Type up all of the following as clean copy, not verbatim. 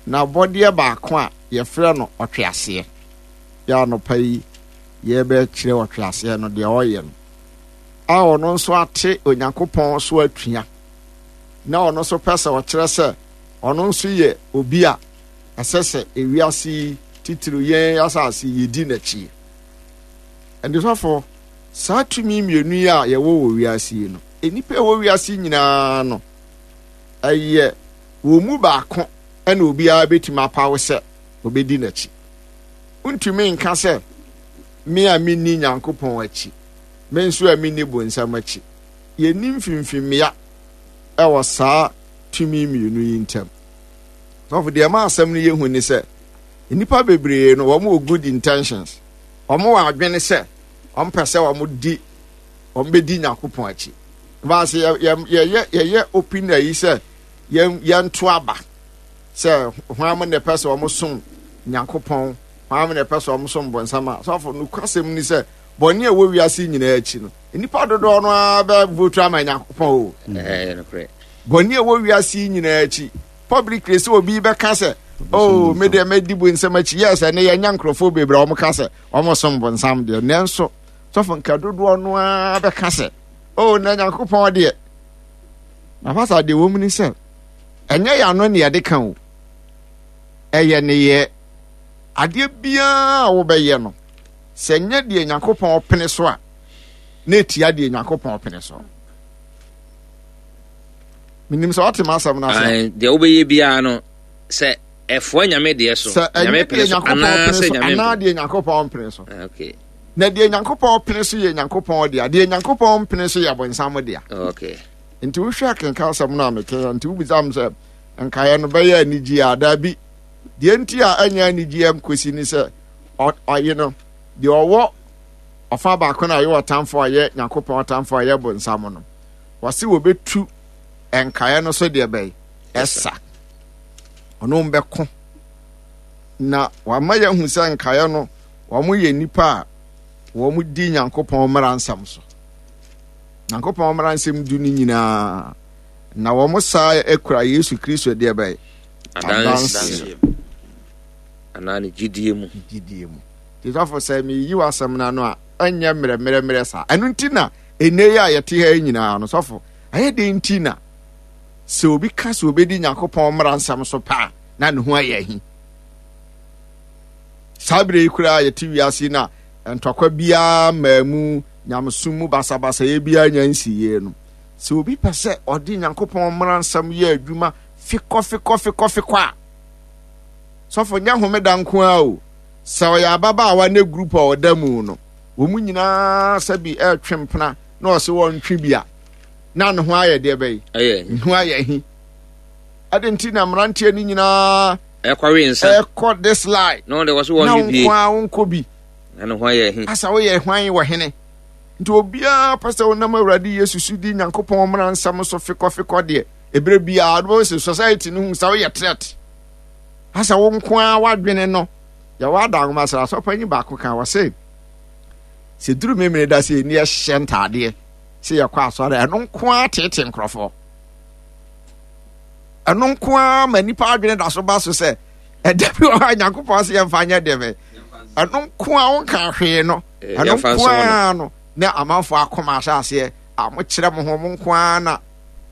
N'abɔdeɛ baako a yɛfrɛ no ɔtweaseɛ. Yɛ anɔpa yi yɛbɛkyerɛ ɔtweaseɛ no deɛ ɔyɛ no. A ɔno nso ate Onyankopɔn so atua. Na ɔno nso pɛ sɛ ɔkyerɛ sɛ ɔno nso yɛ obi a ɛsɛ sɛ ewiase yi titiriw yɛn asase yi yɛdi n'akyi. Ɛnde saa tumi mmienu yi a yɛwɔ wɔ wiase yi no, nnipa a ɛwɔ wiase nyinaa no, ɛyɛ wɔn mu baako na obiara bɛtumi apaw sɛ obɛdi n'akyi. Wontumi nka sɛ me a menni Nyankopɔn akyi, me nso a menni bonsam akyi. Yɛnni mfimfimmea wɔ saa tumi mmienu yi ntam. Sɔfo, deɛ ɛma asɛm no yɛ hu ne sɛ, nnipa bebree no, wɔn wɔ good intentions. Wɔn wɔ adwene sɛ wɔn pɛ sɛ wɔn di wɔn bɛdi Nyankopɔn akyi. Baase yɛ yɛ yɛyɛ yɛyɛ open ayi sɛ yɛn yɛnto aba sɛ hwan mo na ɛpɛ sɛ wɔn som Nyankopɔn, hwan mo na ɛpɛ sɛ wɔn som bonsam a. Sɔfo, nokwasɛm ni sɛ bɔne a ɛwɔ wiase nyinaa akyi no, nnipa dodoɔ no ara bɛ vote ama Nyankopɔn o. Bɔne a ɛwɔ wiase yi nyinaa akyi, publicly sɛ obi bɛka sɛ, oh, me deɛ mɛdi bonsam akyi. Yes, ɛnɛ yɛnya nkurɔfoɔ bebree a wɔka sɛ wɔsom bonsam deɛ, nanso sɔfo nka dodoɔ no ara bɛka sɛ, oh, na Nyankopɔn deɛ. Na fasa deɛ wɔ mu ni sɛ, ɛnyɛ yɛn ano ne yɛde ka o, ɛyɛ nneyɛɛ. Adeɛ biara a wobɛyɛ no, sɛ nyɛ deɛ Nyankopɔn pene so a, na ɛtia deɛ Nyankopɔn pene so. Menim sɛ ɔte m'asɛm no ase. Deɛ wobɛyɛ biara no, sɛ ɛfoa Nyame deɛ so, sɛ ɛnyɛ deɛ Nyankopɔn pene so anaa deɛ Nyankopɔn pene so. Ah, okay. Na deɛ Nyankopɔn pene so yɛ Nyankopɔn dea, deɛ Nyankopɔn mpene so yɛ bonsam dea. Okay. Nti wohwɛ akenka asɛm no a meka nti wobisa m sɛ nkaeɛ no bɛyɛ anigyeɛ a daabi. Deɛ nti a ɛnyɛ anigyeɛ nkosi ne sɛ ɔye no deɛ ɔwɔ ɔfa baako no a ɔyɛ ɔtamfo a ɔyɛ Nyankopɔn ɔtamfo a ɔyɛ bonsam no, wɔse wɔbɛtu nkaeɛ no so deɛ bɛn ɛsa. Ɔno bɛko na wama yɛahu sɛ nkaeɛ no wɔn yɛ nnipa a wɔn di Nyankopɔn mmara nsɛm so. Nyankopɔn mmara nsɛm du no nyinaa na wɔn saa akura Yesu Kristo deɛ bɛn adanseɛ anaa ne gyidie mu. Gyidie mu. Nti sɔfo sɛ meyi w'asɛm no ano a ɛnyɛ mmerɛmmerɛmmerɛ saa. Ɛno nti na ɛnɛ yi a yɛte ha yi nyinaa no sɔfo ɛyɛ den nti na sɛ obi ka sɛ obɛdi Nyankopɔn mmara nsɛm so paa na ne ho ayɛ ahi. Saa berɛ yi koraa yɛte wiase na ntɔkwa biara mmaa mu nyamesom mu basabasayɛ biara nya nsiyie no sɛ obi pɛ sɛ ɔde Nyankopɔn mmara nsɛm yɛ adwuma fikɔ fikɔ fikɔ fikɔ a sɔfo nyɛ homeda nko ara o sɛ ɔyɛ ababaawa ne group a ɔda mu no wɔn nyinaa sɛbi ɛretwe mpena na ɔsɛ wɔntwe bi a na ne ho ayɛ deɛ bɛyi ne ho ayɛ hi ɛde nti na mmeranteɛ no nyinaa ɛkɔwe nsa ɛkɔ this line na wɔde wɔso wɔn bi na nko ara wɔnkɔ bi na ne ho ayɛ hi asa woyɛ hwan wɔ hene nti obiara pɛ sɛ wonam awurade yesu so di nyankopɔn mmara nsɛm so fikɔfikɔ deɛ ɛberɛ biara wobɛhu sɛ society no hu sɛ woyɛ threat asɛ wo nko ara w'adwene no yɛwɔ ada nwoma sɛ asɔpanyin baako ka wɔ se sɛ duru memene da sɛ ɛni ɛhyɛ ntaadeɛ sɛ yɛkɔ asɔre ɛno nko ara tete nkurɔfoɔ ɛno nko ara ma nipa adwene da so ba so sɛ ɛda bi wɔ hɔ a nyankopɔn sɛ yɛmfa nyɛ deɛ bɛ ɛno nko ara wonka hwee no eh, ɛno nko ara no na amanfoɔ akoma ahyɛ aseɛ a mokyerɛ mo ho mo nko ara na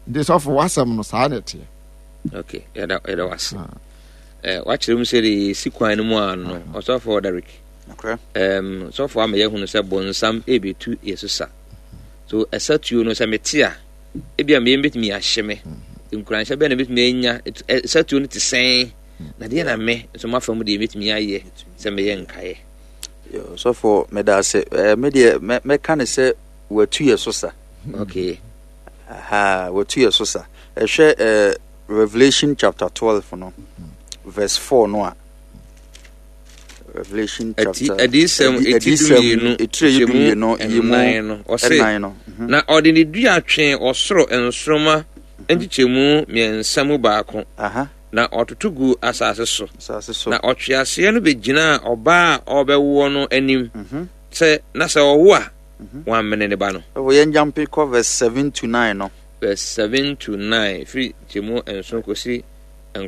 nti sɔfo w'asɛm no saa na ɛteɛ ok yɛda yɛda wase ah. eh, wakyerɛ mu sɛ de si kwan no mu a no ah. ɔsɔfo Derek um, sɔfo ama yɛahunu sɛ bonsam ɛbɛtu yɛ so sa so ɛsa tuo no sɛ mete a ebia meyɛ bɛtumi ahye me mm-hmm. nkuranhyɛ bɛn na bɛtumi anya ɛsa tuo no te sɛn na deɛ na me nso mafa mu deɛ mɛtumi ayɛ sɛ meyɛ nkaeɛ sɔfo meda ase me deɛ mɛka ne sɛ watu yɛ so sa okay Ahaa, watu yɛ so sa. Ɛhwɛ eh, Revelation chapter 12 no, verse 4 no a. Revelation chapter Adiyisɛm eti dumienu etire yi dumienu yi mu ɛnan no ɔse no. Mhm. Na ɔde ne dua twee ɔsoro nsoromma nkyekyɛmu mmiɛnsa mu baako. Aha. Na ɔtoto guu asase so. Asase so. Na ɔtweaseɛ no bɛgyinaa ɔbaa a ɔrebɛwoɔ no anim mhm. sɛ na sɛ ɔwo a Wammene ne ba no. Ɛwɔ yɛn gyampe kɔ verse 7 to 9 no. Verse 7 to 9, firi nkyɛmu nson kɔsi